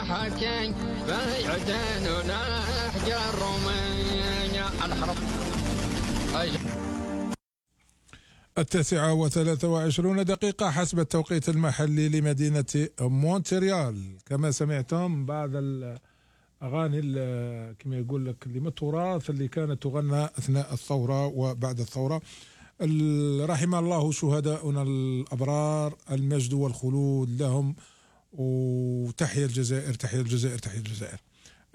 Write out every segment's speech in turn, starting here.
حكي بيعدننا احجار رومانيا الحرب. 9:23 حسب التوقيت المحلي لمدينة مونتريال. كما سمعتم بعض الأغاني كما يقول لك اللي من التراث اللي كانت تغنى أثناء الثورة وبعد الثورة. رحم الله شهداؤنا الأبرار، المجد والخلود لهم، وتحيا الجزائر تحيا الجزائر تحيا الجزائر.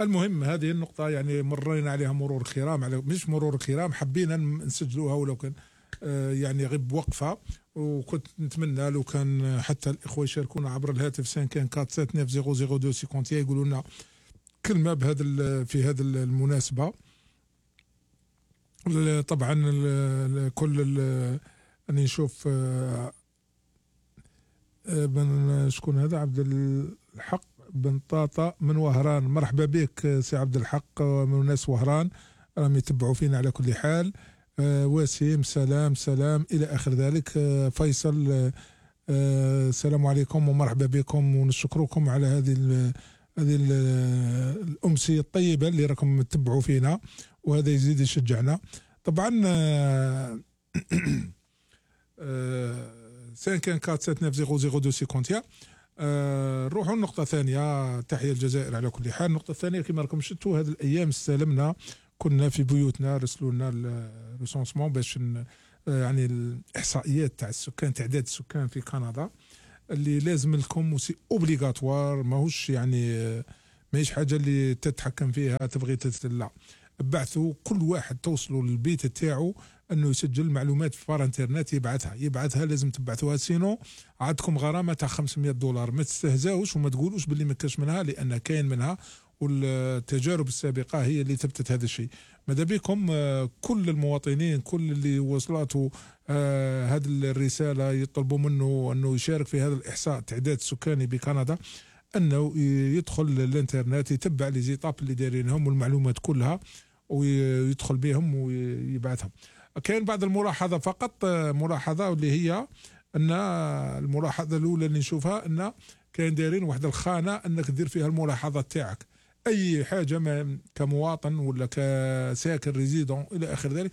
المهم هذه النقطة يعني مرينا عليها مرور الكرام، على مش مرور الكرام، حبينا نسجلوها ولو كان يعني غير بوقفة. وكنت نتمنى لو كان حتى الإخوة يشاركونا عبر الهاتف 544700250 يقولوا لنا كلمة في هذا المناسبة. طبعا كل أني نشوف شكون هذا؟ عبد الحق بن طاطا من وهران. مرحبا بك سي عبد الحق من ناس وهران، راهم يتبعوا فينا على كل حال. وسيم سلام إلى آخر ذلك. فيصل السلام عليكم ومرحبا بكم ونشكركم على هذه الأمسية الطيبة اللي راكم تتبعوا فينا، وهذا يزيد يشجعنا. طبعا 544700250. نروحوا النقطة الثانية. تحية الجزائر على كل حال. النقطة الثانية كما راكم شفتوا هذه الأيام استلمنا، كنا في بيوتنا، رسلوا لنا الريسونسمون باش يعني الإحصائيات تاع السكان، تعداد السكان في كندا اللي لازم لكم وسي اوبليغاتوار، ماهوش يعني ماهيش حاجة اللي تتحكم فيها تبغي لا. بعثوا كل واحد توصلوا للبيت تاعو انه يسجل معلومات في فار انترنت، يبعثها لازم تبعثوها، سينو عندكم غرامه تاع $500. ما تستهزاوش وما تقولوش باللي ما كاش منها، لان كاين منها، والتجارب السابقه هي اللي ثبتت هذا الشيء. ماذا بكم كل المواطنين، كل اللي وصلته هذه الرساله يطلبوا منه انه يشارك في هذا الاحصاء التعداد السكاني بكندا، انه يدخل الانترنت يتبع لي زيطاب اللي دايرينهم والمعلومات كلها ويدخل بهم ويبعثهم. كاين بعض الملاحظه فقط، ملاحظه اللي هي ان الملاحظه الاولى اللي نشوفها ان كاين دايرين واحد الخانه انك دير فيها الملاحظات تاعك، اي حاجه ما كمواطن ولا كساكن ريزيدون الى اخر ذلك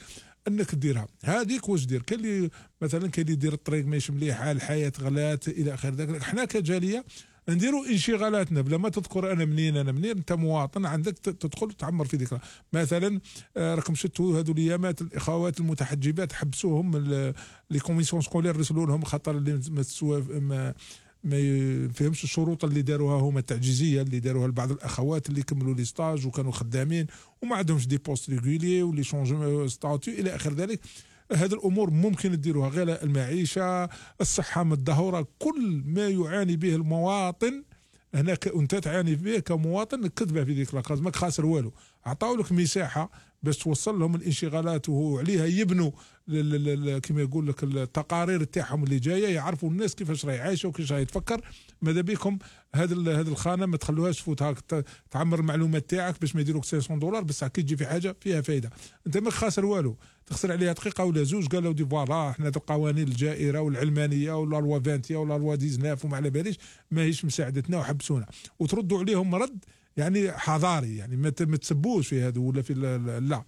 انك ديرها. هذيك واش دير؟ كاين اللي مثلا كاين اللي يدير الطريق ماشي مليحه، الحياه غلات الى اخر ذلك. حنا كجاليه نديروا انشغالاتنا بلا ما تذكر انا منين انت مواطن عندك تدخل تعمر في ذكرى. مثلا راكم شفتوا هذو الايامات الاخوات المتحجبات حبسوهم لي كوميسيون سكولير، رسلوا لهم خاطر اللي ما يفهمش الشروط اللي داروها هما التعجيزيه اللي داروها لبعض الاخوات اللي كملوا لي ستاج وكانوا خدامين وما عندهمش دي بوست ريغولي واللي شونجو ستاتيو الى اخر ذلك. هذه الامور ممكن تديروها، غلاء المعيشه، الصحه متدهوره، كل ما يعاني به المواطن هنا انت تعاني به كمواطن كتبه في ذيك لاكاز، ماك خاسر والو. عطاو لك مساحه باش توصل لهم الانشغالات وعليها يبنوا كما يقول لك التقارير تاعهم اللي جايه، يعرفوا الناس كيفاش راهي عايشه وكيفاش راهي تفكر. ماذا بكم هذه الخانه ما تخلوهاش تفوت تعمر المعلومات تاعك باش ما يديروك $500 بس كي تجي في حاجه فيها فايده. انت ما خاسر والو، تخسر عليها دقيقه ولا زوج. قالوا دي فوالا احنا القوانين الجائره والعلمانيه ولا لوا 20 ولا لوا 19 وما على باليش ماهيش مساعدتنا وحبسونا، وتردوا عليهم رد يعني حضاري، يعني ما تسبوش في هذا ولا في لا.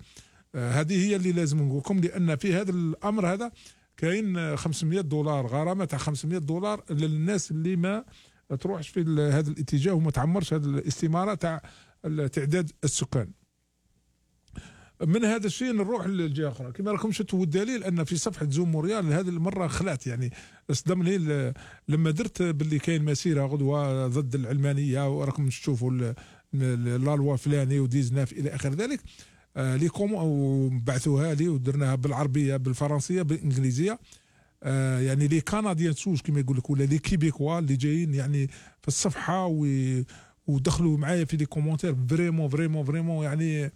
هذه هي اللي لازم نقول لكم، لان في هذا الامر هذا كاين $500 غرامه تاع $500 للناس اللي ما تروحش في هذا الاتجاه وما تعمرش هذه الاستماره تاع تعداد السكان. من هذا الشيء نروح للجهه اخرى. كما راكم شفتوا الدليل ان في صفحه زوم موريال هذه المره خلعت، يعني صدمني لما درت باللي كاين مسيره غدوه ضد العلمانيه وراكم تشوفوا لا لوا فلاني وديزناف الى اخر ذلك. ليكم وبعثوها لي ودرناها بالعربيه بالفرنسيه بالانجليزيه. يعني لي كنديان سوج كما يقول لك ولا لي كيبيكوا اللي جايين يعني في الصفحه ودخلوا معايا في لي كومونتير فريمون يعني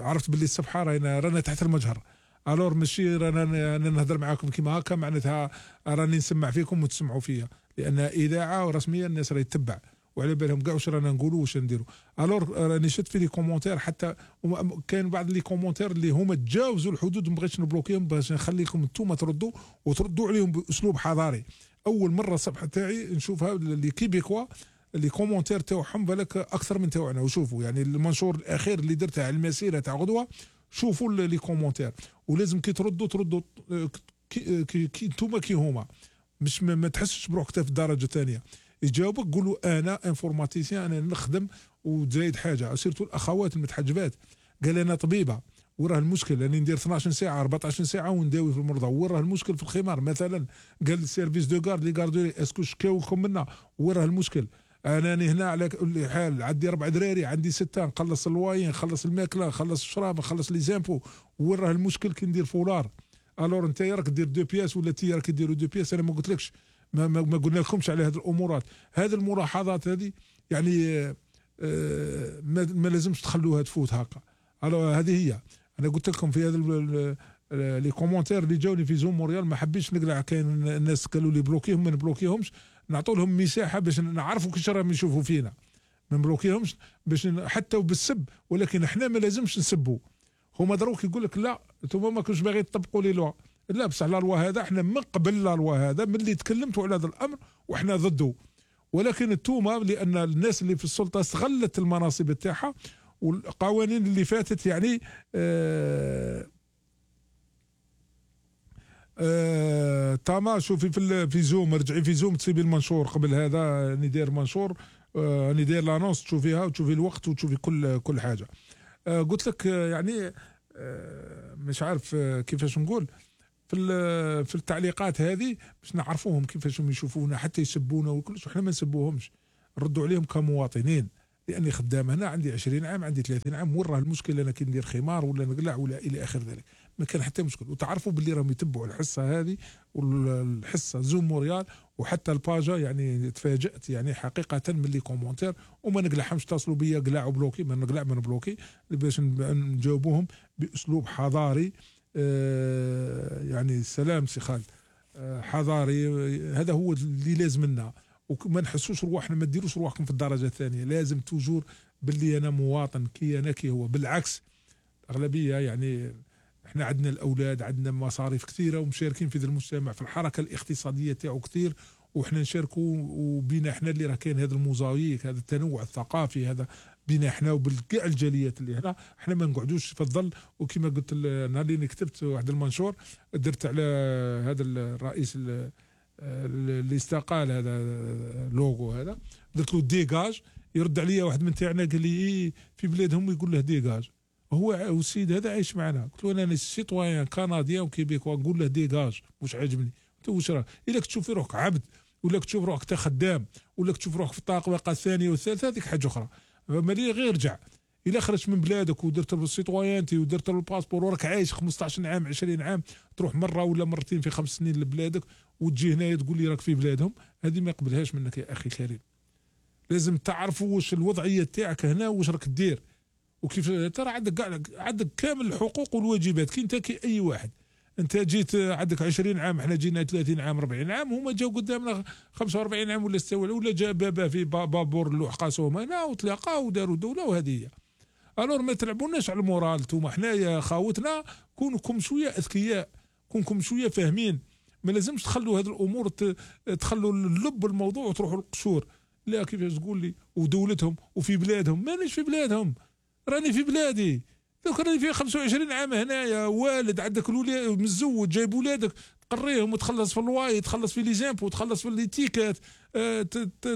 عرفت باللي الصفحه رانا تحت المجهر. الور ماشي رانا نهضر معاكم كيما هكا معناتها راني نسمع فيكم وتسمعوا فيا، لان اذاعه ورسميه الناس راهي تتبع وعلى بالهم كاع واش رانا نقولوا واش نديروا. الور راني شفت في لي كومونتير حتى كاين بعض لي كومونتير اللي هما تجاوزوا الحدود، ما بغيتش نبلوكيهم باش نخليكم انتم تردوا عليهم باسلوب حضاري. اول مره الصفحه تاعي نشوفها اللي كيبيكوا لي كومونتير تاعهم بالك اكثر من تاعنا. وشوفوا يعني المنشور الاخير اللي درته على المسيره تاع غدوه، شوفوا لي كومونتير، ولازم كي تردوا كي انتوما كي هما، مش ما تحسش بروحك في الدرجه الثانيه. يجاوبك قولوا انا انفورماتيسيان، انا نخدم وزايد حاجه. سيرتو الاخوات المتحجبات، قال انا طبيبه وراه المشكل راني ندير 12 ساعه 14 ساعه ونداوي في المرضى، وراه المشكل في الخمار مثلا. قال السيرفيس دو غارد لي غاردوري اسكو شكاوكم منا، وراه المشكل. انا هنا على كل حال عندي 4 دراري، عندي 6، نخلص الواين، نخلص الماكله، نخلص الشراب، نخلص لي زامبو، وراه المشكل كي ندير فولار. الور انت راك دير 2 بياس ولا تي راك ديروا 2 بياس. انا ما قلتلكش، ما قلنا لكمش على هذه الامورات. هذه الملاحظات هذه يعني ما لازمش تخلوها تفوت هكا. هذه هي. انا قلت لكم في هذا لي كومونتير اللي جاوني في زوم مونريال، ما حبيتش نقلع. كاين الناس قالوا لي بلوكيهم، ما نبلوكيهمش، نعطوا لهم مساحه باش نعرفوا كيش راهم يشوفوا فينا. ما نبلوكيهمش باش حتى وبالسب، ولكن احنا ما لازمش نسبوا. هما دروك يقول لك لا انتم ما كنتش باغيين تطبقوا لي لوا. لا بصح لا لوا هذا احنا من قبل لا لوا هذا، ملي تكلمتوا على هذا الامر واحنا ضده. ولكن انتوما لان الناس اللي في السلطه استغلت المناصب تاعها والقوانين اللي فاتت يعني تاما. شوفي في زوم، رجعي في زوم تسيبي المنشور قبل هذا. راني داير منشور، راني داير لانونس، تشوفيها وتشوفي الوقت وتشوفي كل حاجه. قلت لك يعني مش عارف كيفاش نقول في التعليقات هذه باش نعرفوهم كيفاش يشوفونا، حتى يسبونا وكلش. احنا ما نسبوهمش، نردوا عليهم كمواطنين، لاني خدام هنا عندي 20 عام، عندي 30 عام. وراه المشكل انا كي ندير خمار ولا نقلع ولا الى اخر ذلك، ما كان حتى مشكل. وتعرفوا باللي راهم يتبعوا الحصه هذه والحصه زوم مونريال وحتى الباجا. يعني تفاجات يعني حقيقه من لي كومونتير، وما نقلعهمش. اتصلوا بيا قلع وبلوكي، ما نقلع ما نبلوكي، باش نجاوبوهم باسلوب حضاري. يعني سلام سي خالد، حضاري. هذا هو اللي لازم لنا. وما نحسوش رواحنا، ما ديروش رواحكم في الدرجه الثانيه. لازم توجور باللي انا مواطن كي انا كي هو. بالعكس اغلبيه يعني احنا عندنا الاولاد، عندنا مصاريف كثيره ومشاركين في ذا المجتمع، في الحركه الاقتصاديه تاعو كثير، وحنا نشاركوا. وبينا احنا اللي راه كاين هذا الموزايك، هذا التنوع الثقافي هذا بينا احنا وبالكاع الجاليات اللي هنا. احنا ما نقعدوش في الظل. وكما قلت النهار اللي كتبت واحد المنشور درت على هذا الرئيس اللي استقال، هذا لوغو هذا، درت له ديغاج. يرد عليا واحد من تاعنا قال لي إيه في بلادهم يقول له ديغاج. هو السيد هذا عايش معنا. قلت له انا سيتويان كنديان وكيبيكوا، نقول له ديغاج مش عاجبني. قلت له واش راك الا تشوف روحك عبد، ولا تشوف روحك انت خدام، ولا تشوف روحك في الطاقه الثانيه والثالثه، هذيك حاجه اخرى. مالي غير رجع. الا خرجت من بلادك ودرت السيتويانتي ودرت الباسبور وراك عايش 15 عام 20 عام، تروح مره ولا مرتين في 5 سنين لبلادك وتجي هنايا تقول لي راك في بلادهم، هذه ما يقبلهاش منك يا اخي الكريم. لازم تعرفوا واش الوضعيه تاعك هنا واش راك دير، وكيف ترى عندك كامل الحقوق والواجبات كي انت كي اي واحد. انت جيت عندك 20 عام، احنا جينا 30 عام 40 عام، هما جاوا قدامنا 45 عام ولا 6 ولا جا بابا في بابور اللوح قاسوهم هنا وتلاقاو وداروا دوله. وهذه هي. الور ما تلعبوناش على المورال. انتوما حنايا خاوتنا كونكم شويه اذكياء، كونكم شويه فاهمين. ما لازمش تخلوا هذه الامور تخلوا اللب الموضوع وتروحوا للقشور. لا كيفاش تقول لي ودولتهم وفي بلادهم. مانيش في بلادهم، راني في بلادي. دوك راني في 25 عام هنايا، والد عندك الولاد متزوج جايب ولادك تقريهم وتخلص في الواي، تخلص في لي زامبو، تخلص في ليتيكات،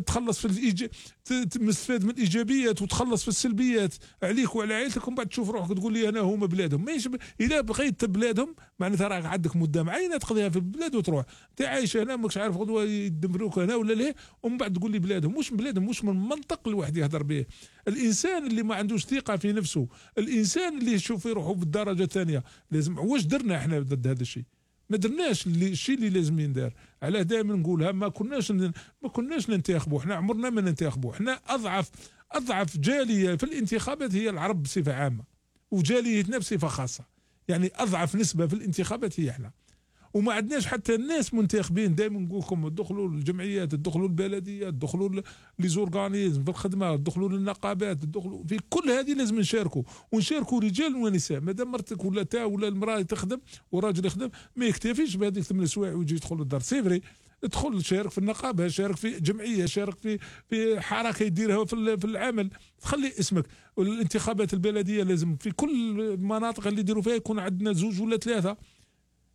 تخلص في مستفاد من الايجابيات وتخلص في السلبيات عليك وعلى عائلتك. ومن بعد تشوف روحك تقول لي انا هما بلادهم. ماشي الا بغيت بلادهم معناتها راك عندك مده معينه تقضيها في البلاد وتروح. انت عايش هنا ماكش عارف غدوه يدمروك هنا ولا ليه، ومن بعد تقول لي بلادهم. مش بلادهم، مش من المنطق الواحد يهضر به. الانسان اللي ما عندوش ثقه في نفسه، الانسان اللي يشوف روحه بالدرجه الثانيه، لازم. واش درنا احنا ضد هذا الشيء؟ ما درناش الشيء اللي لازم يندار. علاه دائما نقولها، ما كناش ننتخبوا. احنا عمرنا ما ننتخبوا. احنا اضعف جاليه في الانتخابات هي العرب بصفه عامه، وجاليتنا بصفه خاصه. يعني اضعف نسبه في الانتخابات هي احنا. وما عندناش حتى الناس منتخبين. دائما نقول لكم تدخلوا الجمعيات، تدخلوا البلديات، تدخلوا لي زورغانيزم في الخدمه، تدخلوا للنقابات، تدخلوا في كل هذه. لازم ونشاركوا رجال ونساء. مادام مرتك ولا المراه تخدم وراجل يخدم، ما يكتفيش بهذيك 8 سوايع ويجي يدخل للدار. سي فري ادخل شارك في النقابه، شارك في جمعيه، شارك في حركه يديرها في العمل، تخلي اسمك. والانتخابات البلديه لازم في كل المناطق اللي يديروا فيها يكون عندنا 2 ولا 3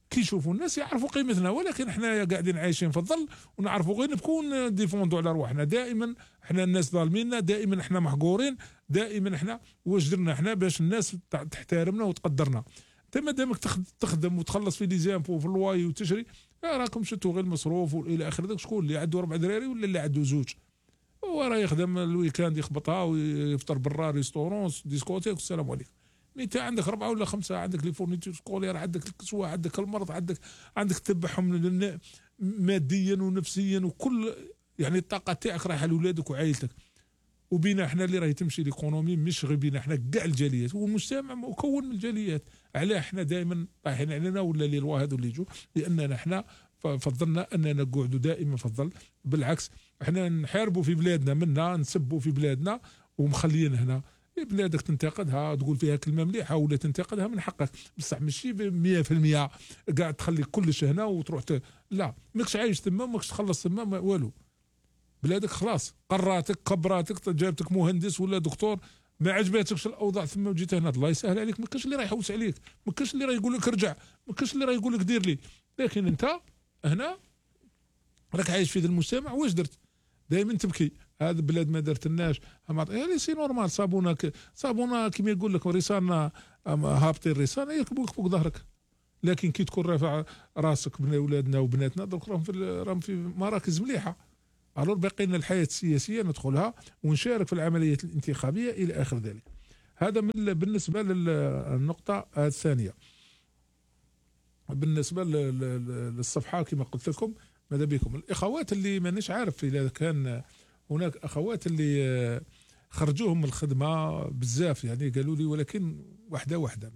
كي يشوفوا الناس يعرفوا قيمتنا. ولكن احنا قاعدين عايشين في الظل ونعرفوا غير نبكون ديفوندوا على رواحنا. دائما احنا الناس ظالميننا، دائما احنا محقورين، دائما احنا واش درنا احنا باش الناس تحترمنا وتقدرنا؟ انت ما دامك تخدم وتخلص في لي زامبو وفي الواي وتشري، راكم شتوا غير المصروف والى اخره. داك شكون اللي عنده 4 دراري ولا اللي عنده 2؟ هو راه يخدم الويكاند يخبطها ويفطر برا ريستورون ديسكوتيك والسلام عليكم. انت عندك 4 ولا 5، عندك لي فورنيتور سكولير، عندك الكسوه، عندك المرض، عندك تتبعهم ماديا ونفسيا وكل يعني الطاقه تاعك رايحه لاولادك وعائلتك. وبينا احنا اللي راهي تمشي ليكونومي، مش غير بينا احنا كاع الجاليات، والمجتمع مكون من الجاليات. علاه احنا دائما طايحين علينا ولا لي الوا هذو اللي يجوا؟ لاننا احنا فضلنا اننا نقعدوا دائما في الظل. بالعكس احنا نحاربوا في بلادنا، منا نسبوا في بلادنا ومخليين هنا بلادك تنتقدها تقول فيها كلمه مليحه ولا تنتقدها من حقك، بصح ماشي 100% قاعد تخلي كلش هنا وتروح لا، ماكش عايش تما، ماكش تخلص تما والو. بلادك خلاص قراتك كبراتك، جابتك مهندس ولا دكتور، ما عجباتكش الاوضاع ثم وجيت هنا، الله يسهل عليك. ما كاش اللي راح يحوس عليك، ما كاش اللي راح يقول لك ارجع، ما كاش اللي راح يقول لك دير لي. لكن انت هنا راك عايش في ذا المجتمع، واش درت؟ دائما تبكي. هذا بلاد ما درتلناش، يعني سي نورمال. صابونا كيما يقول لك رسالنا هابطين الرساله يركبوك فوق ظهرك. لكن كي تكون رافع راسك من اولادنا وبناتنا دوك راهم في مراكز مليحه، الور باقي لنا الحياه السياسيه ندخلها ونشارك في العمليات الانتخابيه الى اخر ذلك. هذا بالنسبه للنقطه الثانيه. بالنسبه للصفحه كما قلت لكم، ماذا بكم الاخوات اللي مانيش عارف اذا كان هناك اخوات اللي خرجوهم من الخدمه بزاف، يعني قالوا لي، ولكن واحده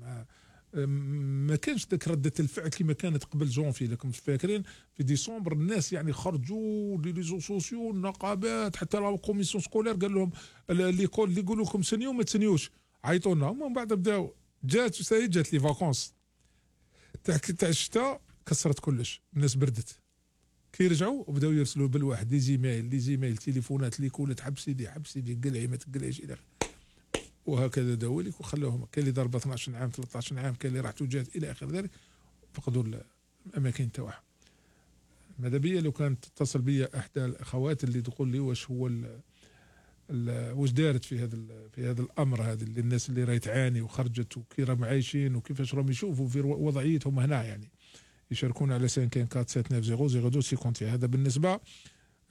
ما كانش ذاك رده الفعل كما كانت قبل جونفي. لكم فاكرين في ديسمبر الناس يعني خرجوا لي ريزو سوسيو، النقابات، حتى لا كوميسيون سكولير قال لهم ليكول اللي يقولوا لكم سنيو ما تسنيوش، عيطوا لنا. ومن بعد بداو جات لي فاكونس تاع الشتاء، كسرت كلش، الناس بردت. كي رجعوا وبداو يرسلوا بالواحد دي زيميل تليفونات اللي كولت حبس سيدي قلعي ما تقلعيش الى وهكذا داولك وخلوهم. كاين اللي ضرب 12 عام 13 عام، كاين اللي راحت وجات الى اخر ذلك، فقدوا الاماكن تاعها. ماذا بيا لو كانت تتصل بيا احدى الاخوات اللي تقول لي واش هو واش دارت في هذا الامر هذا، اللي الناس اللي راهي تعاني وخرجت وكي راهم عايشين وكيفاش راهم يشوفوا في وضعيتهم هنا، يعني يشاركون على 547900250. هذا بالنسبه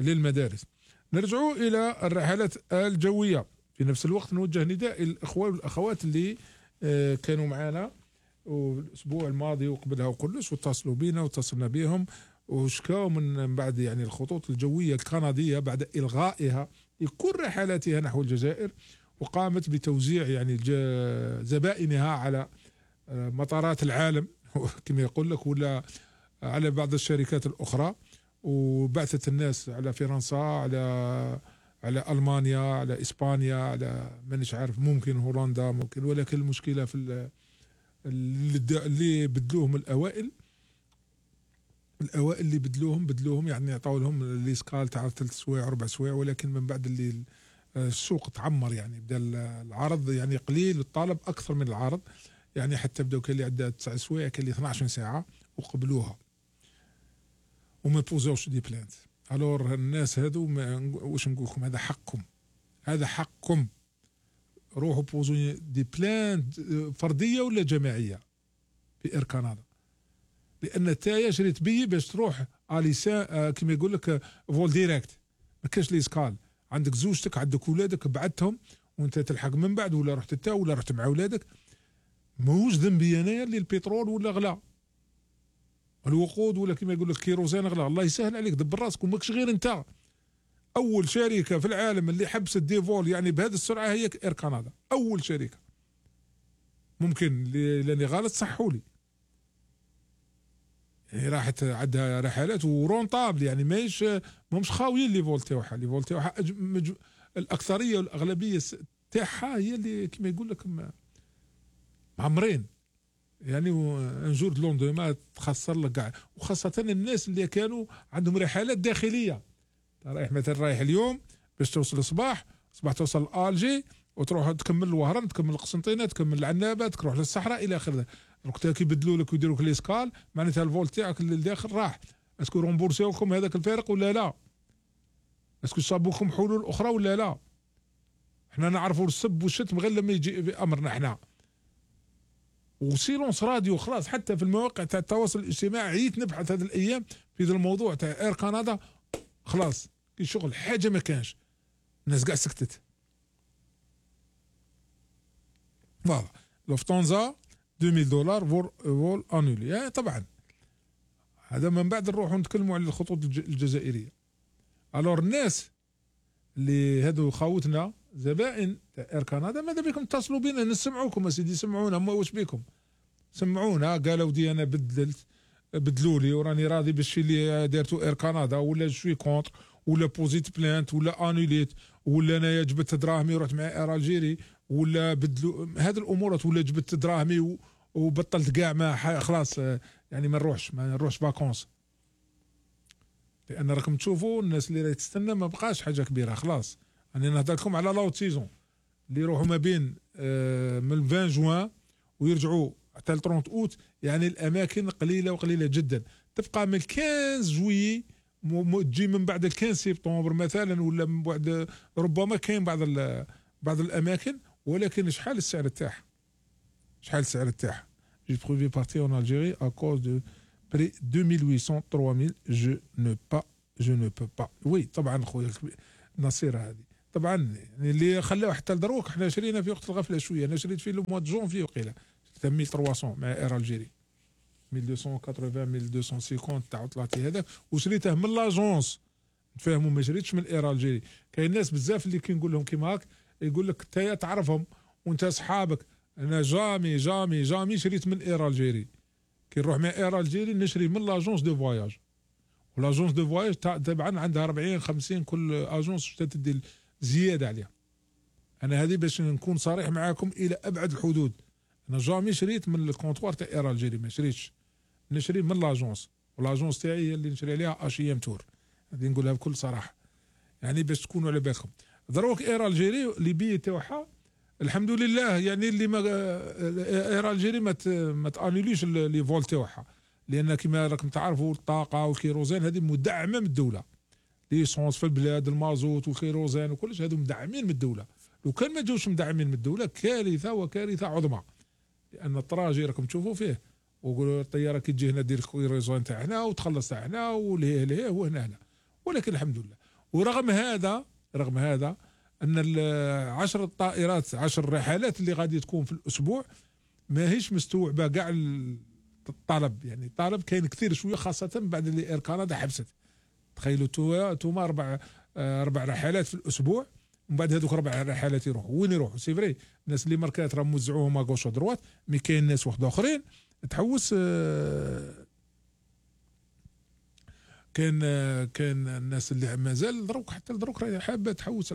للمدارس. نرجعوا الى الرحلات الجويه. في نفس الوقت نوجه نداء الاخوان والاخوات اللي كانوا معنا الاسبوع الماضي وقبلها وكلش، واتصلوا بنا واتصلنا بهم وشكاوا من بعد يعني الخطوط الجويه الكنديه بعد الغائها لكل رحلاتها نحو الجزائر، وقامت بتوزيع يعني زبائنها على مطارات العالم كما يقول لك، ولا على بعض الشركات الاخرى، وبعثت الناس على فرنسا، على المانيا، على اسبانيا، على مانيش عارف، ممكن هولندا ممكن. ولكن المشكله في اللي بدلوهم الاوائل اللي بدلوهم يعني عطاو لهم لي سكال تاع 3 سوايع 4 سوايع، ولكن من بعد اللي السوق تعمر يعني بدا العرض يعني قليل والطلب اكثر من العرض، يعني حتى بداو كان اللي عندها 9 سوايع، كان اللي 12 ساعه وقبلوها وما بوزوش دي بلانت. الور الناس هذو واش نقول لكم، هذا حقكم، روحوا بوزوا دي بلانت فرديه ولا جماعيه في اير كندا، لان تايا شريت بي باش تروح اليسان كما يقول لك فول ديريكت، ما كاش لي سكال، عندك زوجتك عندك ولادك بعدتهم وانت تلحق من بعد، ولا رحت انت ولا رحت مع ولادك. ماهوش ذنبي انايا اللي البترول ولا غلا، الوقود ولا كما يقول لك كيروزين غلا. الله يسهل عليك، دبر راسك وماكش غير انت. اول شركه في العالم اللي حبست ديفول يعني بهذه السرعه هي اير كندا، اول شركه. ممكن لاني غلط صحوا لي، يعني راحت عندها رحلات ورونطابل، يعني ماهمش خاويين لي فول تاعها الاكثريه والاغلبيه تاعها هي اللي كما يقول لك معمرين. يعني ان جور دو لوندوما تخسر لك كاع، وخاصه الناس اللي كانوا عندهم رحلات داخليه. رايح مثلا رايح اليوم باش توصل الصباح توصل لالجي وتروح تكمل الوهران، تكمل القسنطينه، تكمل العنابه، تروح للصحراء الى اخره. وقتها كيبدلوا لك ويديروا لك ليسكال، معناتها الفول تاعك اللي داخل راح. اسكو رومبورسيوكم هذاك الفارق ولا لا؟ اسكو صابوكم حلول اخرى ولا لا؟ احنا نعرفوا السب والشتم غير لما يجي بامرنا احنا. وسيلونس راديو خلاص، حتى في المواقع تاع التواصل الاجتماعي عييت نبحث هذا الايام في هذا الموضوع تاع اير كندا، خلاص كي شغل حاجه ما كانش، الناس كاع سكتت. فوالا لوفتانزا $2000 فول انولي. طبعا هذا من بعد نروحوا نتكلموا على الخطوط الجزائريه. الور الناس اللي هادو خاوتنا زبائن تاع اير كندا، ماذا بكم اتصلوا بنا نسمعوكم اسيدي، سمعونا، ما واش بكم سمعونا. قالوا ودي انا بدلوا لي وراني راضي بالشيء اللي دارتو اير كندا، ولا شوي كونتر، ولا بوزيت بلانت، ولا انوليت، ولا انايا جبت دراهمي ورحت مع اير الجيري، ولا بدلوا هذه الامورات، ولا جبت دراهمي وبطلت كاع ما خلاص يعني ما نروحش فاكونس. لان راكم تشوفوا الناس اللي راهي تستنى ما بقاش حاجه كبيره خلاص. انا نهضر لكم على لاوت سيزون اللي يروحوا ما بين من 20 جوان ويرجعوا حتى ل 30 اوت، يعني الاماكن قليله وقليله جدا. تبقى من 15 جويي تجي من بعد 15 سبتمبر مثلا، ولا من بعد ربما كاين بعض الاماكن، ولكن شحال السعر تاعها؟ شحال السعر تاعها؟ جي بروفي بارتي اون الجيري ا كوز دو بري 2800 3000 جو نو با. وي طبعا خويا نصير هذه طبعا يعني اللي خلاوه حتى لدروك. احنا شرينا في وقت الغفله شويه، انا شريت في لو موا دو جونفي وقيله 1300 مع اير الجيري 1280 1250 تاع عطلاتي هذا، وشريته من لاجونس. تفهموا ما شريتش من اير الجيري. كاين ناس بزاف اللي كي نقول لهم كيما هاك يقول لك انت تعرفهم وانت اصحابك. انا جامي شريت من اير الجيري. كي نروح مع اير الجيري نشري من لاجونس دو فواياج، ولاجونس دو فواياج طبعا عندها 40 50 كل اجونس تدي زياده عليها. انا هذه باش نكون صريح معاكم الى ابعد الحدود. انا جامي شريت من الكونتوار تاع اير الجيري، ما شريتش، نشري من لاجونس، ولاجونس تاعي هي اللي نشري عليها اشيام تور. هذه نقولها بكل صراحه يعني باش تكونوا على بالكم. دروك اير الجيري لي بي تاعها الحمد لله، يعني اللي ما اير الجيري ما تانوليش لي فول تاعها، لان كما راكم تعرفوا الطاقه والكيروزين هذه مدعمه من الدوله. ليسونس في البلاد، المازوت والكيروزين وكلش هذو مدعمين من الدوله. لو كان ما جوش مدعمين من الدوله كارثه وكارثه عظمى. لان الطراجي راكم تشوفوا فيه، وقولوا الطياره كي تجي هنا دير الكيروزين تاعنا وتخلص تاعنا ولهيه وهنا. ولكن الحمد لله. ورغم هذا ان 10 طائرات 10 رحلات اللي غادي تكون في الاسبوع ماهيش مستوعبه كاع الطلب. يعني الطلب كاين كثير شويه، خاصه بعد اللي اير كندا حبست. تخيلوا توما 4 رحلات في الاسبوع، ومن بعد هذوك 4 رحلات يروحوا وين يروحوا؟ سي فري الناس اللي ماركات راهم موزعوهم ا غوش ودروات، مي كاين ناس واحد اخرين تحوس. كاين الناس اللي مازال دروك حتى لدروك راهي حابه تحوس.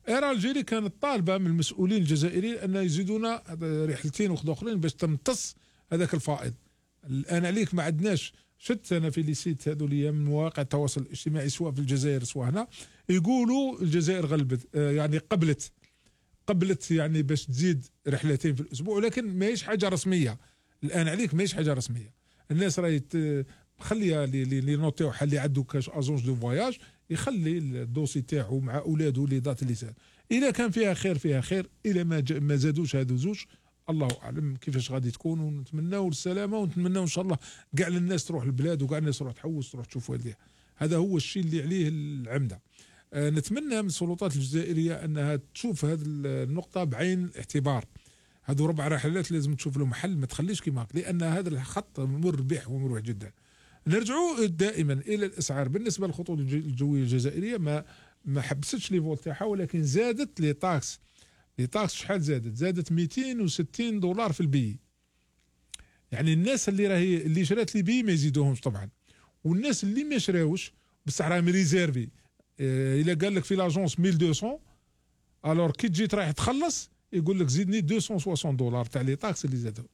اير الجيري كانت طالبه من المسؤولين الجزائريين ان يزيدونا رحلتين واحد اخرين باش تمتص هذاك الفائض. الان عليك ما عندناش. شفت انا في لي سيت هذو اللي من مواقع التواصل الاجتماعي سواء في الجزائر سواء هنا، يقولوا الجزائر غلبت، يعني قبلت يعني باش تزيد رحلتين في الاسبوع، ولكن ماهيش حاجه رسميه. الان عليك ماهيش حاجه رسميه. الناس راهي خليها اللي نوطيو اللي عنده كاش اجونس دو فواياج يخلي الدوسي تاعو مع اولاده لي دات اللي سال. اذا كان فيها خير، اذا ما زادوش هادو زوج الله اعلم كيفاش غادي تكون. ونتمناو السلامه، ونتمناو ان شاء الله كاع الناس تروح للبلاد، وكاع الناس تروح تحوس تروح تشوف والديها. هذا هو الشيء اللي عليه العمده. نتمنى من السلطات الجزائريه انها تشوف هذه النقطه بعين الاعتبار. هذو 4 رحلات لازم تشوف لهم حل، ما تخليش كيما هكا، لان هذا الخط مربح ومروح جدا. نرجعوا دائما الى الاسعار. بالنسبه للخطوط الجويه الجزائريه ما حبستش لي فول تاعها، ولكن زادت لي تاكس. شحال زادت $260 في البي. يعني الناس اللي شرات لي بي ما يزيدوهمش طبعا، والناس اللي ما شراوش بصح راهم ريزيرفي. الا قال لك في لاجونس 1200 الور كي تجي رايح تخلص يقول لك زيدني $260 تاع لي تاكس اللي زادوا.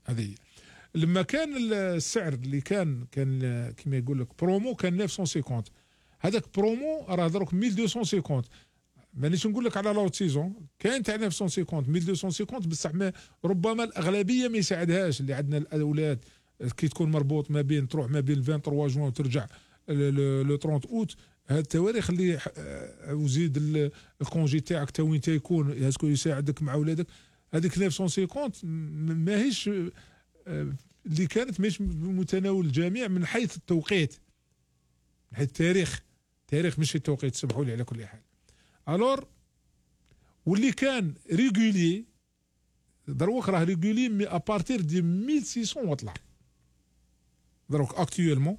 هذه هي. لما كان السعر اللي كان كما يقول لك برومو كان 950، هذاك برومو راه دروك 1250. مانيش نقول لك على لوت سيزون كاين تاع 950 1250 بصح ربما الاغلبيه ما يساعدهاش، اللي عندنا الاولاد كي تكون مربوط ما بين تروح ما بين 23 جوان وترجع لو 30 اوت. هاد التواريخ اللي وزيد الكونجي تاعك تا وين تيكون اسكو يساعدك مع ولادك. هذيك 950 ماهيش اللي كانت مش بمتناول الجميع من حيث التوقيت، من حيث التاريخ مش التوقيت، سمحوا لي على كل حال. الور واللي كان ريغولي دروك راه ريغولي مي ابارتير دي 1600 وطلع. دروك اكتويلمون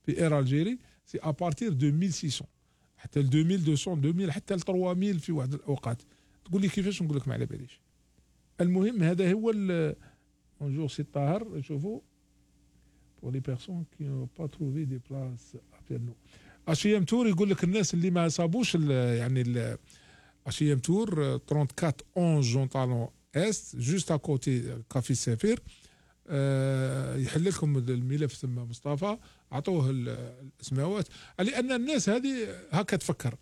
في اير الجيري سي ابارتير دو 1600 حتى ل 2200 2000 حتى ل 3000 في واحد الاوقات. تقول لي كيفاش؟ نقول لك ما على باليش. المهم هذا هو بونجور سي طاهر. شوفوا pour les personnes qui n'ont pas trouvé des places à Pernod. HM Tour يقول لك الناس اللي ما صابوش يعني HM Tour 34 11 جونطالون است جوست ا كوتي كافي سفير. يحل لكم الملف ثم مصطفى عطوه الاسماوات، لان الناس هذه هكا تفكر.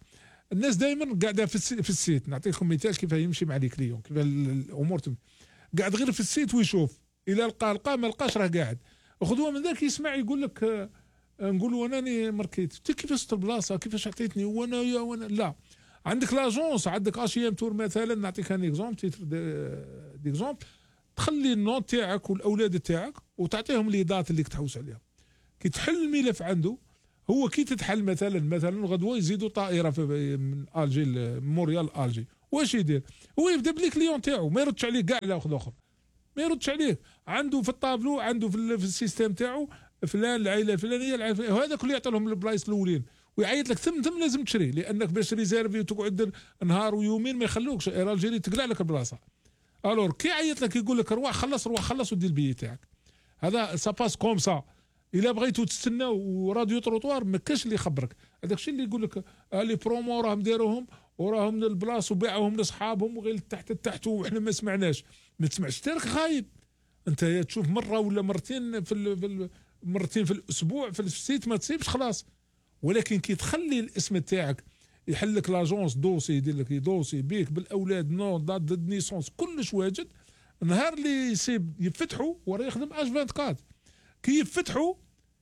الناس دائما قاعده في السيت. نعطيكم مثال كيف يمشي مع لي كليون، كيف الامور قاعد غير في السيت ويشوف، الى لقى ما لقاش راه قاعد. خذوها من ذاك يسمع يقول لك نقول انني ماركيت كيفاش البلاصه كيفاش عطيتني وانا لا. عندك لاجونس، عندك HM Tour مثلا، نعطيك ان اكزومبل تيتر ديكزومبل. تخلي النوت تاعك والاولاد تاعك وتعطيهم لي دات اللي تحوس عليها. كي تحل الملف عنده هو، كي تتحل مثلا غدوه يزيدوا طائره من الجي موريال الجي، واش يدير؟ هو يبدا بلي كليون تاعو ما يردش عليه كاع لا اخر، ما يردش عليه. عنده في الطابلو، عنده في السيستم تاعو فلان العائله الفلانيه وهذا كله يعطي لهم البلايص الاولين ويعيط لك ثم لازم تشري، لانك باش ريزيرفي وتقعد نهار ويومين ما يخلوكش. الجيري تقلع لك البلاصه. الور كي يعيط لك يقول لك روح خلص ودير البي تاعك. هذا ساباس كوم سا. الا بغيتو تستناو وراديو تروطوار ما كاش اللي يخبرك. هذاك الشيء اللي يقول لك لي برومو راهم داروهم وراهم من البلاص وباعوهم لاصحابهم وغير تحت وحنا ما سمعناش. ما تسمعش تارك خايب. انت تشوف مره ولا مرتين مرتين في الاسبوع في السيت ما تصيبش خلاص. ولكن كي تخلي الاسم تاعك يحل لك لاجونس دوسي، يدير لك دوسي بيك بالاولاد نو دات دو نيسونس كلش واجد. النهار اللي يصيب يفتحوا وراه يخدم اش 24. كي يفتحوا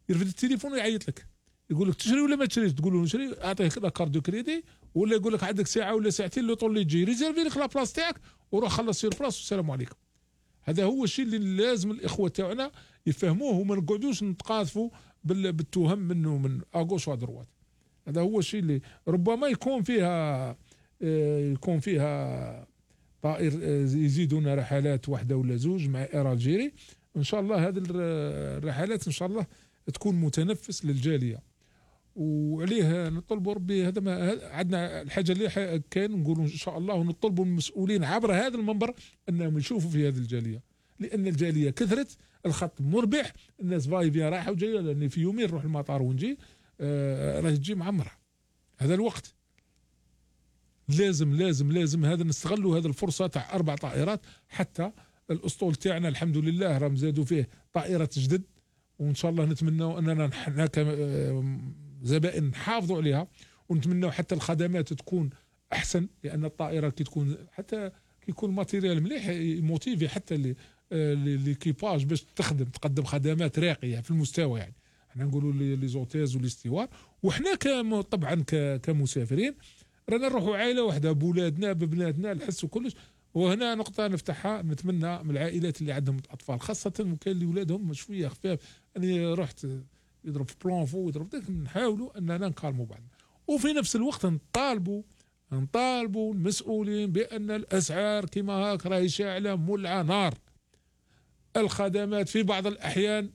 يرفد التليفون ويعيط لك يقول لك تشري ولا ما تشريش؟ تقول له نشري، اعطيه لا كارت دو كريدي، ولا يقول لك عندك ساعه ولا ساعتين لو طول اللي تجي ريزيرفي لك لا بلاص تاعك وروح خلص سير بلاص والسلام عليكم. هذا هو الشيء اللي لازم الاخوه تاعنا يفهموه وما نقعدوش نتقاذفوا بالتهم منه من اغوش ودروات. هذا هو الشيء اللي ربما يكون فيها طائر يزيدون رحلات واحده ولا زوج مع اير الجيري. ان شاء الله هذه الرحلات ان شاء الله تكون متنفس للجاليه، وعليه نطلبوا ربي. هذا ما عندنا الحاجه اللي كان نقولوا ان شاء الله ونطلبوا من المسؤولين عبر هذا المنبر انهم يشوفوا في هذه الجاليه، لان الجاليه كثرت، الخط مربح، الناس فاي بيان رايحه وجايه. لان في يومين نروح المطار ونجي راه تجي معمره. هذا الوقت لازم هذا نستغلوا هذه الفرصه تاع 4 طائرات. حتى الاسطول تاعنا الحمد لله راهم زادوا فيه طائره جدد، وان شاء الله نتمنوا اننا نحن كزبائن نحافظوا عليها، ونتمنوا حتى الخدمات تكون احسن. لان الطائره كي تكون حتى كي يكون الماتيريال مليح موتيفي حتى ليكيباج باش تقدم خدمات راقيه في المستوى. يعني احنا نقولوا لي زوتيز وليستوار، وحنا طبعا كمسافرين رانا نروحوا عائله واحده بولادنا ببناتنا نحسوا كلش. وهنا نقطة نفتحها، نتمنى من العائلات اللي عندهم أطفال خاصة وكان اللي ولادهم شوية خفاف، أنا رحت يضرب في بلانفو ويضرب ذاك، نحاولوا أننا نكالموا بعضنا. وفي نفس الوقت نطالبوا المسؤولين بأن الأسعار كما هاك راهي شاعلة مولعة نار. الخدمات في بعض الأحيان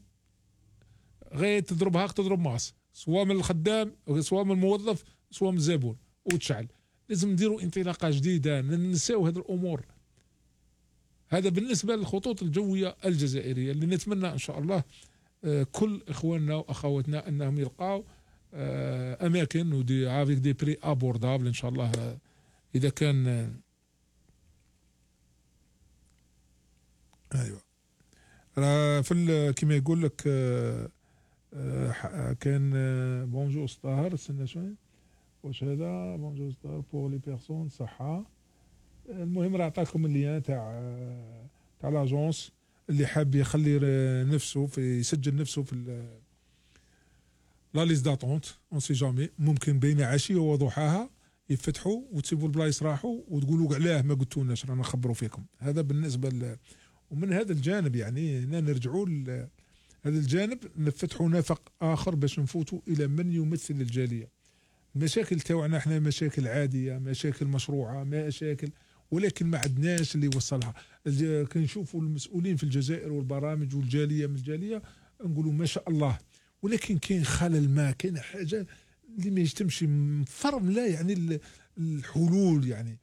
غير تضرب هاك تضرب ماس، سواء من الخدام سواء من الموظف سواء من الزبون وتشعل. لازم نديروا انطلاقه جديده ننساو هذه الامور. هذا بالنسبه للخطوط الجويه الجزائريه اللي نتمنى ان شاء الله كل اخواننا واخواتنا انهم يلقاو اماكن ودي افيك دي بري ابوردابل ان شاء الله. اذا كان ايوه راه كيما يقول لك كان بونجور طاهر استنى شويه واش هذا بونجور طاهر بور لي بيرسون صحه. المهم راه عطاكم اللين تاع لاجونس اللي حاب يخلي نفسه يسجل نفسه في لا ليست داتونت اون سي جامي، ممكن بين عشيه وضحاها يفتحوا وتسيبوا البلايص راحوا وتقولوا علاه ما قلتولناش رانا نخبروا فيكم. هذا بالنسبه ومن هذا الجانب يعني نرجعوا هذا الجانب نفتحوا نفق اخر باش نفوتوا الى من يمثل الجاليه. المشاكل تاعنا احنا مشاكل عاديه، مشاكل مشروعه، مشاكل ولكن ما عندناش اللي يوصلها. كنشوفوا المسؤولين في الجزائر والبرامج والجاليه من الجاليه نقولوا ما شاء الله، ولكن كاين خلل، ما كاين حاجه اللي ما يجتمش فرم لا يعني الحلول يعني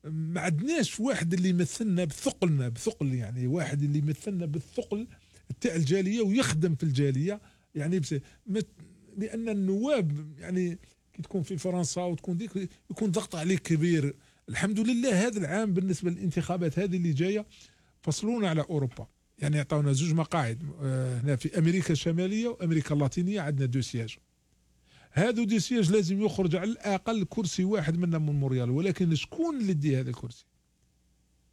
ما عندناش واحد اللي يمثلنا بثقل يعني واحد اللي يمثلنا بالثقل تاع الجاليه ويخدم في الجاليه يعني لان النواب يعني كي تكون في فرنسا وتكون ديك يكون ضغط عليك كبير. الحمد لله هذا العام بالنسبه للانتخابات هذه اللي جايه فصلونا على اوروبا، يعني عطاونا 2 مقاعد هنا في امريكا الشماليه وامريكا اللاتينيه، عندنا 2 سياج. هذو 2 سياج لازم يخرج على الاقل كرسي واحد منا من مونريال، ولكن شكون اللي يدي هذا الكرسي؟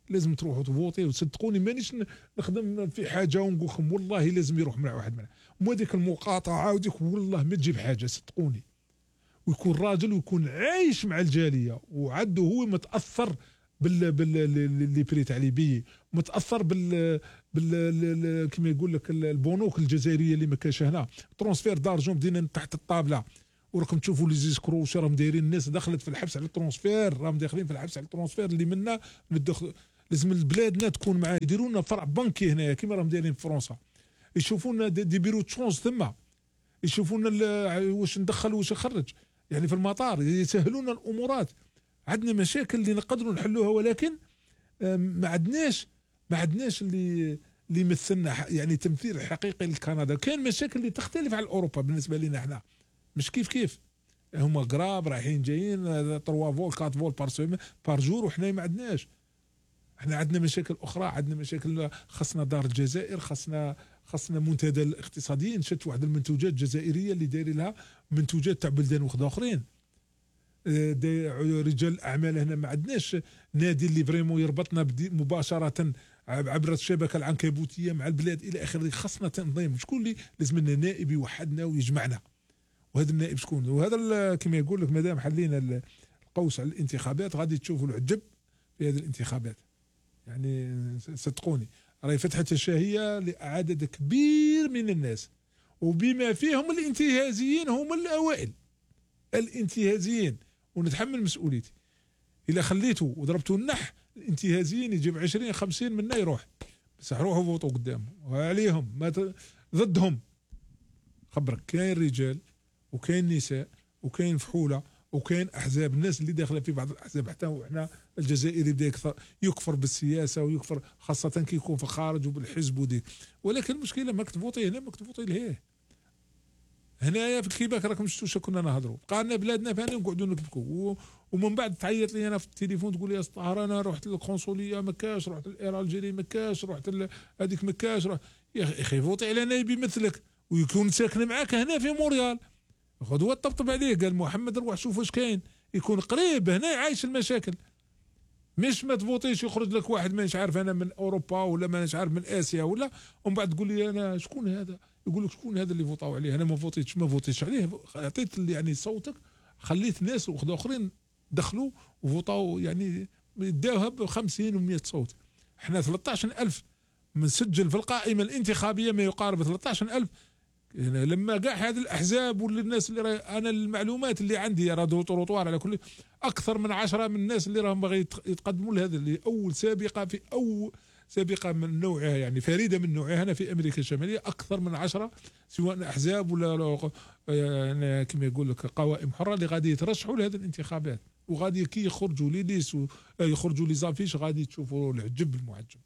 لازم تروحوا تفوتي. وصدقوني مانيش نخدم في حاجه ونقول لكم والله لازم يروح مع واحد منها، مو هذيك المقاطعه وديك والله ما تجيب حاجه صدقوني. ويكون راجل ويكون عايش مع الجاليه وعده هو متاثر باللي بري تاع ليبي، متاثر كما يقول لك البنوك الجزائريه اللي ما كاش هنا، ترونسفير دارجون بدينا تحت الطابله وراكم تشوفوا لي زيسكرو واش راهم دايرين. الناس دخلت في الحبس على الترونسفير، راهم داخلين في الحبس على الترونسفير اللي منا لازم بلادنا تكون معاه. يديروا لنا فرع بنكي هنايا كما راهم دايرين في فرنسا، يشوفوا لنا دي بيرو تشونس ثم، يشوفوا لنا واش ندخل واش نخرج يعني في المطار، يسهلوا لنا الامورات. عندنا مشاكل اللي نقدروا نحلوها ولكن ما عندناش اللي يمثلنا يعني تمثيل حقيقي لكندا. كاين مشاكل اللي تختلف عن اوروبا بالنسبه لنا احنا مش كيف هما قراب رايحين جايين 3 فول 4 فول بار جور وحنا ما عندناش. احنا عندنا مشاكل اخرى، عندنا مشاكل خاصنا دار الجزائر، خاصنا منتدى الاقتصاديين، شت واحد المنتوجات الجزائريه اللي دايرين لها منتوجات تاع بلدان وخذا اخرين. رجال الاعمال هنا ما عندناش نادي اللي فريمون يربطنا مباشره عبر الشبكه العنكبوتيه مع البلاد الى اخره. خاصنا تنظيم، شكون اللي لازم لنا نائب يوحدنا ويجمعنا، وهذا النائب شكون؟ وهذا كما يقول لك مادام حلينا القوس على الانتخابات غادي تشوفوا العجب في هذه الانتخابات. يعني صدقوني راهي فتحت الشهيه لعدد كبير من الناس، وبما فيهم الانتهازيين هم الاوائل الانتهازيين، ونتحمل مسؤوليتي. اذا خليته وضربته النح الانتهازيين يجيب 20 50 منا يروح، بس روحوا فوتوا قدامهم وعليهم ما ضدهم. خبرك كاين رجال وكاين نساء وكاين فحوله وكاين احزاب، الناس اللي داخله في بعض الاحزاب حتى وحنا الجزائري بدا يكفر بالسياسه ويكفر خاصه كي يكون في الخارج وبالحزب وديك. ولكن المشكله ماك تفوتي هنا ماك تفوتي لهيه. هنايا في كيباك راكم شفتوا كنا نهضروا بقى لنا بلادنا فاني نقعدوا نبكوا، ومن بعد تعيط لي انا في التليفون تقول لي يا طاهر انا رحت للقنصليه ما كاش، رحت للاير الجيري ما كاش، رحت هذيك ما كاش. يا اخي فوتي على نايب يمثلك ويكون ساكن معاك هنا في مونريال، خذ هو طبطب عليه قال محمد روح شوف واش كاين، يكون قريب هنا عايش المشاكل. مش ما تفوتيش يخرج لك واحد مانيش عارف انا من اوروبا ولا مانيش عارف من اسيا ولا، ومن بعد تقول لي انا شكون هذا، يقول لك شكون هذا اللي فوطاو عليه، انا ما فوتيتش عليه، عطيت يعني صوتك، خليت ناس وخذوا اخرين دخلوا وفوطاو يعني داوها ب 50 و100 صوت. احنا 13000 مسجل في القائمه الانتخابيه ما يقارب 13000. يعني لما كاع هذه الاحزاب والناس اللي انا المعلومات اللي عندي راه تروطوار على كل اكثر من 10 من الناس اللي راهم باغي يتقدموا لهذا اللي اول سابقه من نوعها يعني فريده من نوعها هنا في امريكا الشماليه، اكثر من 10 سواء احزاب ولا يعني كما يقول لك قوائم حره اللي غادي يترشحوا لهذه الانتخابات، وغادي كي يخرجوا لي ليس يخرجوا لي زافيش غادي تشوفوا العجب المعجب.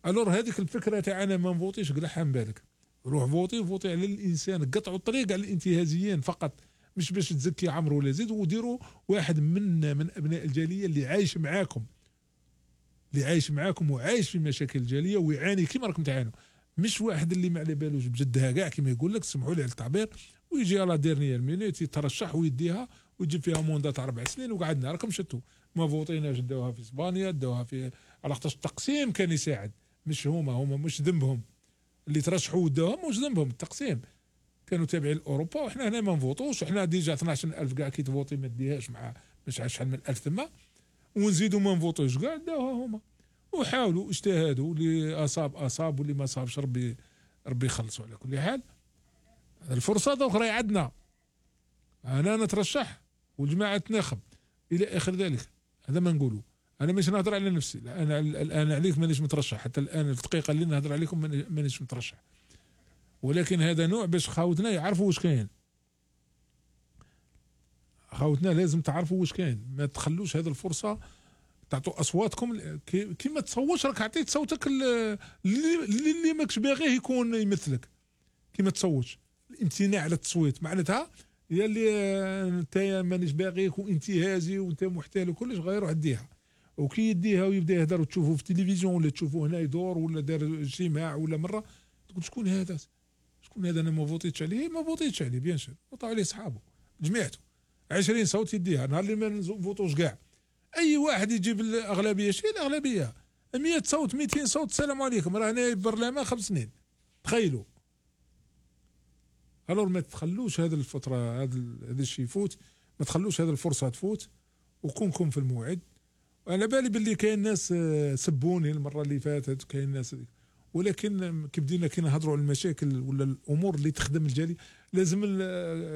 الور هذيك الفكره تاع انا ما نفوتيش قلعها من بالك، روح فوتي على الانسان، قطعوا الطريق على الانتهازيين فقط، مش باش تزكي عمرو ولا زيد، وديروا واحد من ابناء الجاليه اللي عايش معاكم وعايش في مشاكل الجاليه ويعاني كيما راكم تعانوا. مش واحد اللي ما على بالوش بجدها كاع كما يقول لك، سمحوا لي على التعبير، ويجي على ديرنيير مينوت يترشح ويديها ويجيب فيها موندة تاع 4 سنين وقعدنا راكم شتوا ما فوطيناش، داوها في اسبانيا داوها في، على خاطرش التقسيم كان يساعد، مش هما مش ذنبهم اللي ترشحوا وداوهم، مش ذنبهم التقسيم، كانوا تابعين لاوروبا وحنا هنا ما نفوطوش، وحنا ديجا 12000 كاع كي تفوطي ما ديهاش مع مش عارف شحال من 1000 تما، ونزيدوا ما نفوطوش كاع داوها هما، وحاولوا اجتهدوا، اللي اصاب واللي ما صابش ربي يخلصوا. على كل حال الفرصه الاخرى عندنا، انا نترشح والجماعه تناخب الى اخر ذلك، هذا ما نقولوا، انا مش نهضر على نفسي، لا انا الان عليك مانيش مترشح، حتى الان في الدقيقه اللي نهضر عليكم مانيش مترشح، ولكن هذا نوع باش خاوتنا يعرفوا واش كاين، خاوتنا لازم تعرفوا واش كاين، ما تخلوش هذه الفرصه تعطوا اصواتكم، كي ما تصوتش راك عطيت صوتك اللي ماكش باغيه يكون يمثلك، كي ما تصوتش، الامتناع على التصويت معناتها هي اللي انت مانيش باغيك وانتهازي وانت محتال وكلش، غير ديها، وكي يديها ويبدا يهدر وتشوفوه في التلفزيون ولا تشوفوه هنا يدور ولا دار اجتماع ولا مره، تقول شكون هذا انا ما فوتيتش عليه، بيان سور وطاو عليه صحابه جميعته 20 صوت يديها، نهار اللي ما نفوتوش كاع اي واحد يجيب الاغلبيه، شي الاغلبيه 100 صوت 200 صوت السلام عليكم، راه هنا البرلمان 5 سنين، تخيلوا. الور ما تخلوش هذه الفتره هذا الشيء يفوت، ما تخلوش هذه الفرصه تفوت، وكونكم في الموعد. وانا بالي باللي كاين ناس سبوني المره اللي فاتت، كاين ناس، ولكن كي بدينا كي نهضروا على المشاكل ولا الامور اللي تخدم الجاليه، لازم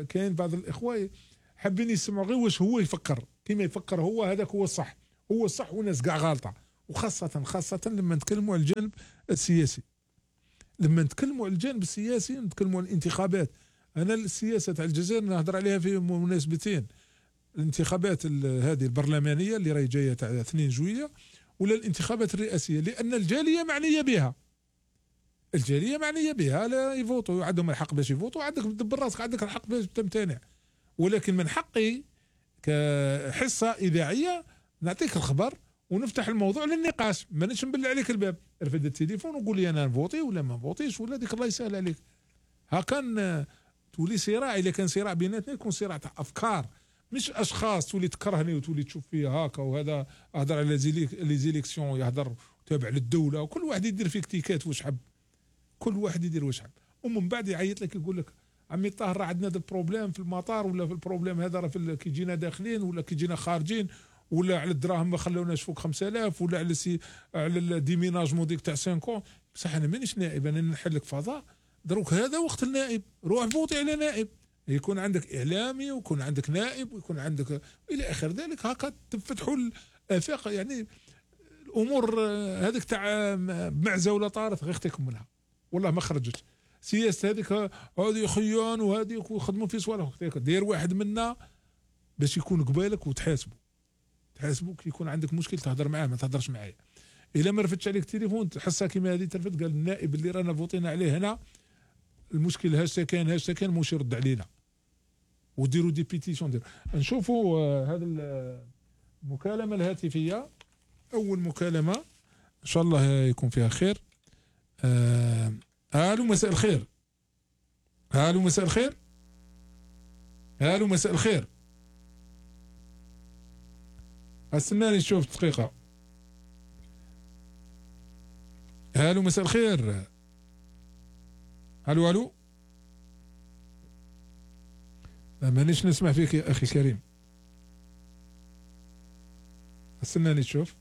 كاين بعض الاخوه حابين يسمعوا غير واش هو يفكر، كيما يفكر هو هذاك هو الصح، والناس كاع غالطه، وخاصه لما نتكلموا على الجانب السياسي، نتكلموا على الانتخابات. انا السياسه تاع الجزائر نهضر عليها في مناسبتين، الانتخابات هذه البرلمانيه اللي راهي جايه تاع 2 جويلية، ولا الانتخابات الرئاسيه، لان الجاليه معنيه بها، لا يفوتوا، عندهم الحق باش يفوتوا، عندك تدبر راسك، عندك الحق باش تمتنع، ولكن من حقي كحصه اذاعيه نعطيك الخبر ونفتح الموضوع للنقاش، مانيش نبلع عليك الباب، رفد التليفون وقول لي انا نفوتي ولا ما نفوتيش، ولا ديك الله يسهل عليك. ها كان تولي صراع، اذا كان صراع بيناتنا يكون صراع تاع افكار، مش اشخاص تولي تكرهني وتولي تشوف فيا هاكا، وهذا اهضر على لي زيليكسيون يهضر تابع للدوله، وكل واحد يدير فيك تيكات واش حب، كل واحد يدير واش حب، ومن بعد يعيط لك يقول لك عمي طاهر راه عندنا هذا البروبليم في المطار، ولا في البروبليم هذا راه كي جينا داخلين ولا كي جينا خارجين، ولا على الدراهم ما خلوناش فوق 5000، ولا على الديميناجمون ديك تاع 5 بصح انا مانيش نائب، انا نحل لك فضاء، دروك هذا وقت النائب، روح فوتي على نائب، يكون عندك اعلامي ويكون عندك نائب ويكون عندك الى اخر ذلك، هكا تفتحوا الافاق. يعني الامور هذيك تاع معزه ولا طارت غير اختكم منها، والله ما خرجت سياسه هذه خيان وهذيك ويخدموا في صوالح، دير واحد منا باش يكون قبالك وتحاسبوا كي يكون عندك مشكل تهضر معاه، ما تهضرش معايا. الا ما رفدتش عليك التليفون تحسها كيما هذه ترفد، قال النائب اللي رانا فوتينا عليه هنا المشكل هاش كان موش يرد علينا، وديروا دي بيتيسيون. نشوفوا هذا المكالمه الهاتفيه، اول مكالمه ان شاء الله يكون فيها خير. الو مساء الخير. الو مساء الخير. الو مساء الخير. استناني نشوف دقيقه. الو مساء الخير. الو مانيش نسمع فيك يا اخي كريم، استناني تشوف.